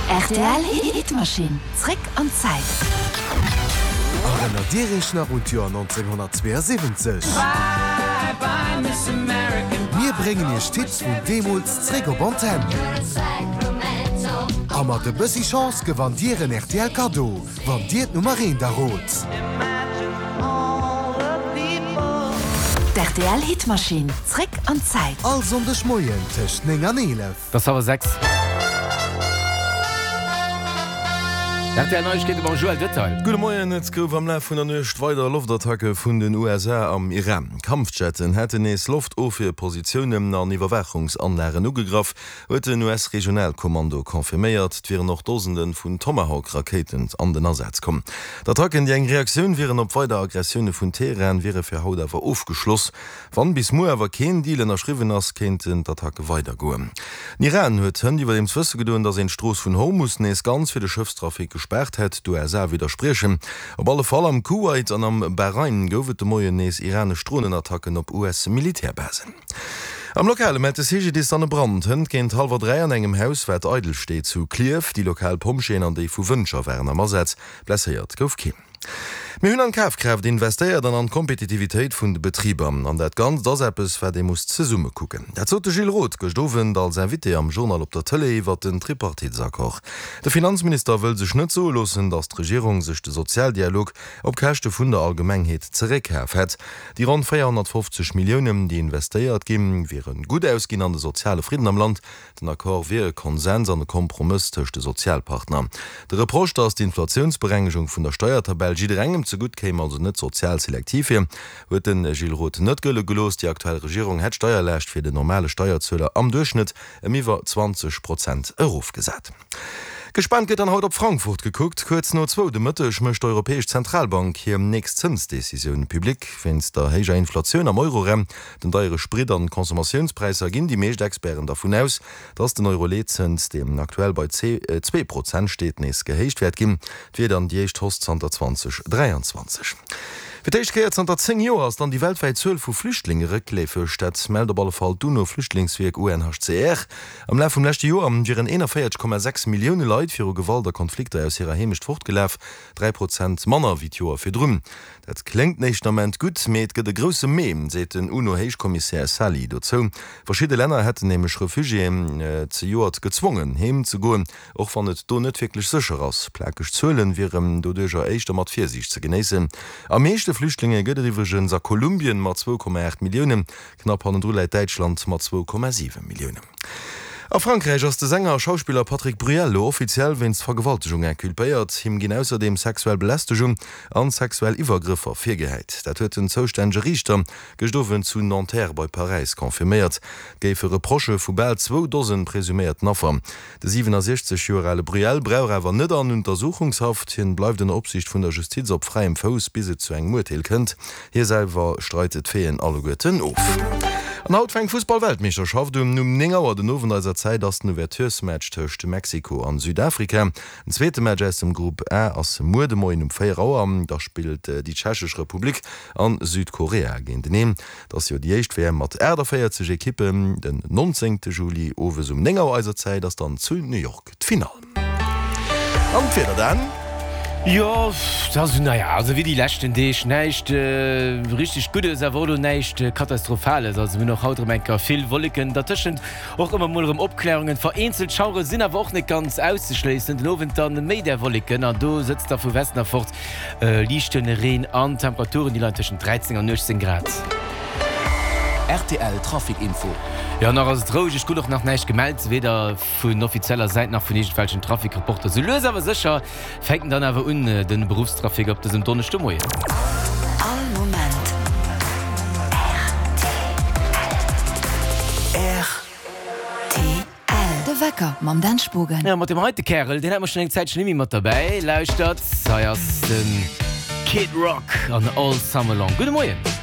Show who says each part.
Speaker 1: Rtl Hitmaschinn, zréck an d'Zäit.
Speaker 2: Erënnert Dir Iech nach un d'Joer 1972? Mir bréngen Iech d'Hits vun deemools zréck op Antenn. A mat e bëssi Chance gewannt Dir en rtl Kaddo, wann Dir d'Nummer eent errot.
Speaker 1: D'RTL Hitmaschinn, zréck an d'Zäit.
Speaker 2: All Sonndeg Moien tëscht 9 an 11.
Speaker 3: Et ass hallwer 6. Rtl Neiegkeete mam Joël Detail.
Speaker 4: Gudde Moien, Et gouf am Laf vun der Nuecht weider Loftattacke vun den USA am Iran. Kampfjetten hätten nees Loftofwierpositiounen an Iwwerwaachungsanlagen ugegraff, huet den US-Regionalkommando confirméiert. Et wieren och Dosende vun Tomahawk-Rakéiten an den Asaz komm. D'Attacken, déi eng Reaktioun wieren op weider Aggressioune vun Teheran, wiere fir haut awer ofgeschloss. Wann bis muer awer keen Deal ënnerschriwwen ass, kéinten d'Attacke weidergoen. Den Iran huet hënt iwwerdeems wësse gedoen, datt een d'Strooss vun Hormus nees ganz fir de Schëffstrafic gespaart hätt. D'USA widderspriechen. Op alle Fall am Kuwait an am Bahrain gouf et de Moien nees iranesch Dronenattacken op US-Militärbasen. Am Lokale mellt de CGDIS dann e Brand hënt géint hallwer 3 an engem Haus, wat eidel steet zu Klierf. Déi lokal Pompjeeën an déi vu Wëntger waren am Asaz. Blesséiert gouf keen. Mir hunn an d'Kafkraaft investéiert an an d'Kompetitivitéit vun de Betriber. An dat Ganzt ass eppes, wat ee muss zesumme kucken. Dat sot de Gilles Roth gëscht Owend als Invité am Journal op der Tëlee iwwert den Tripartitesaccord. De Finanzminister wëll sech net soe loossen, datt d'Regierung sech de Sozialdialog op Käschte vun der Allgemengheet zeréckkaf hätt. Déi ronn 450 Milliounen, déi investéiert ginn, wiere gutt ausginn an de soziale Fridden am Land Den Accord wier e Konsens an e Kompromëss tëscht de Sozialpartner. De Reproche, datt d'Inflatiounsberengegung vun der Steiertabell jidderengem zegutt kéim, also net sozial selektiv wier, huet de Gilles Roth net gëlle gelooss. Déi aktuell Regierung hätt d'Steierlaascht fir den normale Steierzueler am Duerchschnëtt ëm iwwer 20 Prozent erofgesat. Gespaant gëtt dann haut op Frankfurt gekuckt. Kuerz no zwou de Mëtteg mécht d'Europäesch Zentralbank hir nächst Zënsdecisioun public. Wéinst der héijer Inflatioun am Euroraum Den deiere Sprit an d'Consommatiounspräisser ginn déi meescht Experten dervun aus, dass den Euro-Leetzëns, deen aktuell bei 2 Prozent steet, nees gehéicht wäert ginn. Et wier dann déi éischt Hausse zanter 2023. Fir d'éischt Kéier zanter 10 Joer ass dann déi weltwäit Zuel vu Flüchtlinge réckleefeg. Dat mellt op alle Fall d'UNO-Flüchtlingswierk UNHCR. Am Laf vum leschte Joer wieren 41,6 Millioune Leit viru Gewalt a Konflikter aus hirer Heemecht fortgelaf, 3 Prozent manner wéi d'Joer virdrun. Dat kléngt den éischten Ament gutt, mee et gëtt e grousse Mee, seet den UNO-Héichkommissär Sali dozou. Verschidde Länner hätten nämlech Refugiéen zejoert gezwongen, heem ze goen, och wann et do net wierklech sécher ass. Plakeg Zuelen wieren doduercher éischter mat Virsiicht ze genéissen. Am meeschte Flüchtlinge gëtt et iwwregens a Kolumbien mat 2,8 Milliounen. Knapp hannendru läit Däitschland mat 2,7 Milliounen. A Frankräich ass de Sänger a Schauspiller Patrick Bruel elo offiziell wéinst Vergewaltegung inculpéiert. Him ginn ausserdeem sexuell Belästegung an sexuell Iwwergrëffer virgehäit. Dat huet den zoustännege Riichter gëscht Owend zu Nanterre bei Paräis confirméiert. Et géife Reprochë vu bal zwou Dosen presuméierten Affer. De 67 Joer ale Bruel brauch awer net an Untersuchungshaft. Hien bleift ënner Opsiicht vun der Justiz op fräiem Fouss, bis et zu engem Urteel kënnt. Hie selwer streit d'Faiten alleguerten of. An haut fänkt d'Fussball-Weltmeeschterschaft un. Um 9 Auer den Owend eiser Zäit ass den Ouverturesmatch tëscht Mexiko an Südafrika. Den zweete Match aus dem Grupp A ass muer de Moien um 4 Auer. Da spillt déi Tschechesch Republik an Südkorea géinteneen. Et ass jo déi éischt WM mat 48 Ekippen. Den 19 Juli owes um 9 Auer eiser Zäit ass dann zu New York d'Finall. An d'Wieder dann?
Speaker 3: Jo, et ass esou, naja, also wéi déi leschten Deeg, näischt richteg Guddes, awer och elo näischt Katastrophales. Also mir hunn och haut erëm eng Kéier vill Wolleken, dertëschent Och ëmmer mol erëm Opklärungen, vereenzelt Schauere sinn awer och net ganz auszeschléissen. Den Owend dann méi där Wolleken an do sëtzt da vu Westen erfort liichte Reen an. D'Temperaturen déi leien tëschent 13 an 18 Grad.
Speaker 5: Rtl Trafic Info.
Speaker 3: Jo, nach ass et roueg. Ech krut och nach näischt gemellt, weder vun offizieller Säit nach vun iergendwelchen Trafic-Reporter. Sou lues awer sécher fänkt en dann awer un, de Beruffstrafic op dësem Donneschdemoien.
Speaker 1: All Moment rtl. De Wecker mam Dan Spogen.
Speaker 3: Jo, mat deem heite Kärel, deen hat mer schonn eng Zäitchen net méi mat derbäi. Lauschtert, hei ass de Kid Rock an All Summer Long. Gudde Moien.